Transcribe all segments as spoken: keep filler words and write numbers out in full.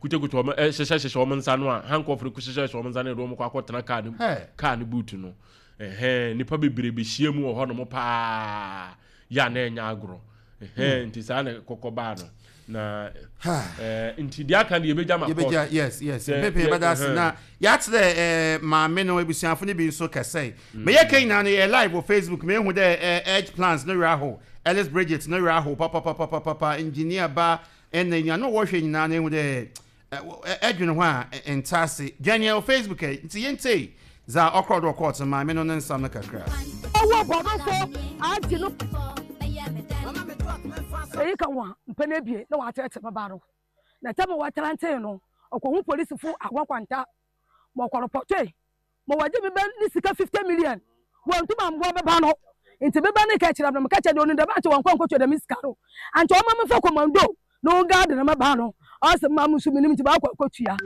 Kutakuta wɔn, ɛhyehyɛ hyehyɛ wɔn nsa no a, handcuff no hyehyɛ hyehyɛ wɔn nsa no, yɛde wɔn kɔ akɔtena kaa no kaa no boot no. Ɛhɛn, nipa bebree bɛhyia mu wɔ hɔnom paa yɛ a na ɛnyɛ agorɔ. Ɛhɛn, nti saa na kɔkɔ baa no na ɛɛ nti deɛ aka deɛ yɛbɛgya ma court. yes yes pepe yɛbɛda ase na yɛakyerɛ ɛɛ maame no ebusuafo no bi nso kɛsɛe. Meyɛ kɛ nyinaa no, yɛ live wɔ Facebook. Mehu dɛ ɛɛ Edge Plans no werɛ aho, Alice Bridget no werɛ aho papapapapapa, engineer ba ɛna nua no wɔhwɛ nyinaa no ehu dɛ ɛdwene ho a nta ase dwane wɔ Facebook ɛ. Nti yɛntei dza ɔkorɔ do ɔkɔɔto maame no ne nsam no kakra. Ɔwɔ bɔdɔfo agye no eyi ka ho a mpɛn ebien na wɔakyerɛkyerɛ me ba no na tɛm a wɔtrantee no, ɔkɔhu polisifo Agona Nkwanta ma ɔkɔrepɔtɔe ma wɔgye me bɛ ne sika fifty million. Wɔntum amboa me ba no, nti me ba ne ka kyerɛ me no, meka kyerɛ deɛ ɔno dɛm ankyɛ wɔnkɔ nkɔtua dɛm sika no ankyɛ ɔma memfa commando na ɔngaade na me ba no. Ɔsɛ mma mo nso menim, nti baakɔ akɔtua.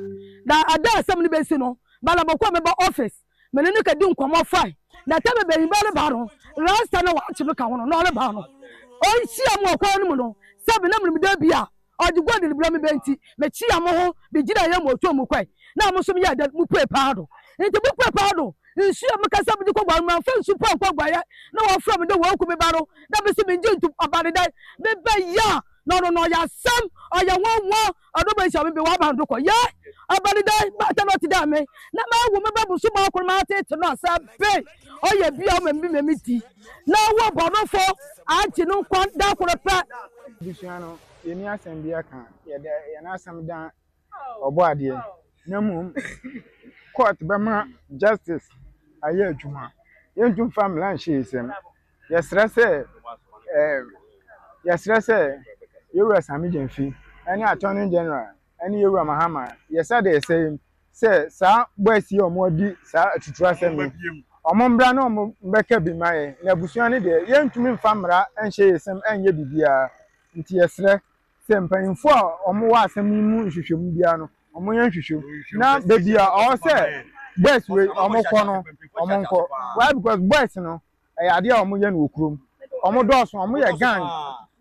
Na ada asɛm no bɛsi no bala bɔkɔ meba office, mene ne kadi nkɔmmɔ fae na tɛmɛ bɛyin ba ne ba no rasta na wakye no ka ho no na ɔreba no, ɔnhyia mu ɔkwan no mu no sɛbi na menim da bi a ɔde gold ne brɛ me bɛ, nti mekyia mo ho megyina yɛ mo otuo mu kɔe na mo nso meyɛ dɛ mupue paa do. Nti mupue paa do, nsuo a mekasa mede kɔ guare, mamfa nsu pa nkɔ guayɛ na wɔfrɛ me dɛ wɔaku me ba no na mesi mengye ntom. Ɔba ne dɛn mebɛyɛ a na ɔno no ɔyɛ asɛm, ɔyɛ nwanwa, ɔno bɛhyia me bi wɔaba no do kɔ yɛ ɔba ne dɛn baata na ɔte dɛ me na mawo me ba bosom akoro maatete no asɛ be ɔyɛ bia ɔma mi ma mi di na wɔ bɔnofo agye no nkwa da koro pɛ. Abusua no, yɛni asɛm bi aka, yɛde yɛn asɛm dan ɔbɔ adeɛ, na mmom court bɛma justice ayɛ adwuma. Yɛntum fa mmara nhyɛ yɛn nsam. Yɛsrɛ sɛ ɛɛ yɛsrɛ sɛ yɛwura Sammy Gyamfi ɛne Attorney General ɛne yɛwura Mahama, yɛsɛ de yɛsɛ yi sɛ saa boys yi a wɔn adi saa atutu asɛm yi, wɔn mbra na wɔn mbɛka bi ma yɛ. Na abusua no deɛ, yɛntumi nfa mmara nhyɛ yɛn nsam ɛnyɛ biribiara, nti yɛsrɛ sɛ mpanyinfoɔ a wɔwɔ asɛm yi mu nhwehwɛmu biara no, wɔn yɛ nhwehwɛmu na beebi a ɔwɔ sɛ boys wei wɔn kɔ no, wɔn nkɔ. Why? Because boys no, ɛyɛ adeɛ a wɔn yɛ no wɔ kurom, wɔn dɔɔso, wɔn yɛ gang.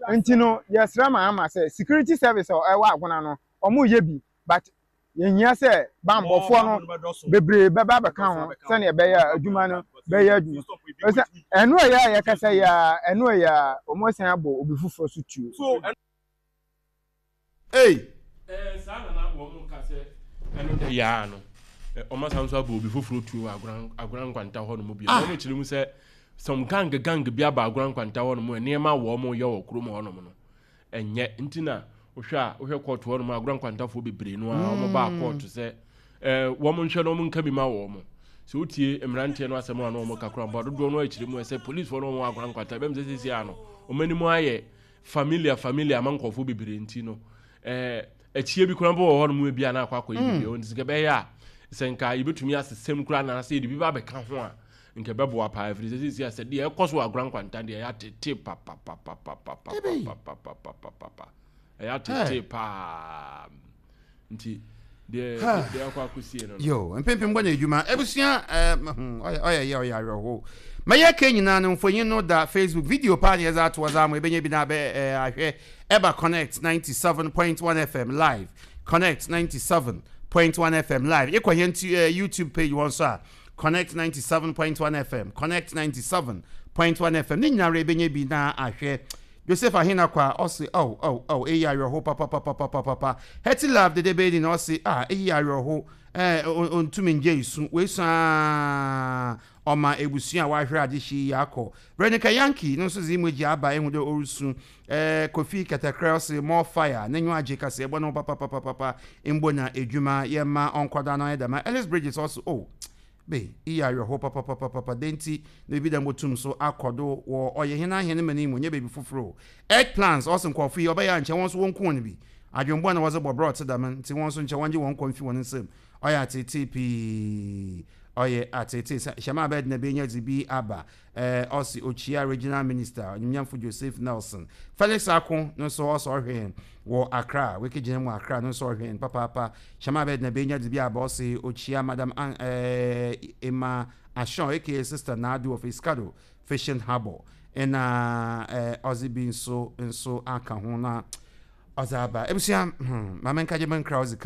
Nti no yɛsrɛ Mahama sɛ security service a ɛwɔ Agona no, wɔn yɛ bi, but yɛhia sɛ bambɔfoɔ no bebree bɛba abɛka ho sɛnea ɛbɛyɛ a adwuma no bɛyɛ adwuma. Ɛsɛ ɛno ɛyɛ a yɛkasa yi a, ɛno ɛyɛ a wɔn asan abɔ obi foforɔ so tuo. Ei. Ɛɛ saa na na wɔn ka sɛ ɛno dɛ yaa no, wɔn asan nso abɔ obi foforɔ tuo wɔ Agona Agona Nkwanta hɔ nom bi. Wɔn kyerɛ mu sɛ some gang gang bi aba Agona Nkwanta hɔ nom, nneɛma a wɔn yɛ wɔ kurom hɔ nom no ɛnyɛ. Nti na wohwɛ a, wohwɛ court hɔ nom, Agona Nkwantafoɔ bebree no a wɔn baa court sɛ ɛɛ wɔn nhwɛ na wɔn nka bi ma wɔn. Sɛ wotie mmeranteɛ no asɛm a na wɔn kakra mpa dodoɔ no akyerɛ mu sɛ policefoɔ no wɔn Agona Nkwanta bɛm sɛ sisi ano wɔn anim ayɛ familiar familiar ama nkɔfoɔ bebree. Nti no ɛɛ akyie bi koraa mpo wɔ hɔ nom bi a na akɔ akɔyɛ biribi wɔn. Nti sɛ bɛyɛ a sɛ nka yɛbɛtumi asesɛm koraa na sɛ yɛde bi ba abɛka ho a, nka ɛbɛboa paa, ɛfiri sɛ sisi a sɛ deɛ ɛkɔ so wɔ Agona Nkwanta deɛ, ɛyɛ atete papapapapapapapapapapa, ɛyɛ atete paa. Nti deɛ deɛ akɔ akɔsie no. Yo, mpempem bɔ na adwuma abusua ɛɛ ɔyɛ ɔyɛ yɛ ɔyɛ awerɛho. Mɛyɛ ke nyinaa no, mfonyin no da Facebook, video paa na yɛdze ato ɔdze ama ebɛnya bi na abɛ ɛɛ ahwɛ. Ɛba Connect ninety seven point one F M live, Connect ninety seven point one F M live. Ekɔ hɛn tu ɛɛ YouTube page wɔn so a, Connect ninety seven point one F M, Connect ninety seven point one F M ne nyinaa ebɛnya bi na ahwɛ. Joseph Ahinakwa ɔse, "Oh, oh, oh, eyi awerɛho papapapapapa." Hetty Love Dede Bedi na ɔse, "Ah, eyi awerɛho." ɛɛ ontumi ngye esu wesu aa ɔma ebusua a wahwere ade hyi yi akɔ. Veronica Yankee no nso dze emoji aba ehu dɛ ɔresu. ɛɛ kofi Kɛtɛkrɛ ɔse, "More fire," n'enyiwa agye kaseɛ bɔ ne ho papapapapa mbo na edwuma yɛma ɔnkɔda no ayɛ dɛm. Ellis Bridges ɔse, "Oh, be iyi awerɛho papapapapa de nti na biribi dɛm botum so akɔ do wɔ ɔyɛ hɛn ahɛn ma no mu nyɛ baabi foforɔ o." Egg Plans ɔse, "Nkɔɔfo yi ɔbɛyɛ a nkyɛn wɔn nso wɔnku wɔn bi adwembɔ na wɔdze bɔ brɛ ɔte dɛm, nti wɔn nso nkyɛn wɔngye wɔn nkɔ mfi wɔn nsam." Ɔyɛ atete pii, ɔyɛ atete sɛ hyɛma abɛɛde na benya dze bi aba. ɛɛ ɔsi okyia Regional Minister Onyimnyamfo Joseph Nelson. Felix Ako no nso ɔsɔ ɔhwɛ wɔ Accra, wekegyina mu Accra no nso ɔhwɛ papaapa. Hyɛma abɛɛde na benya dze bi aba, ɔsi okyia Madam An ɛɛ Emma Ashon A K A Sister Nadu of Essikado Fishing Harbour, ɛna ɛɛ ɔdze bi nso nso aka ho na ɔdze aba. Ebusua, hmm maame nkagye me nkra ɔdze kan.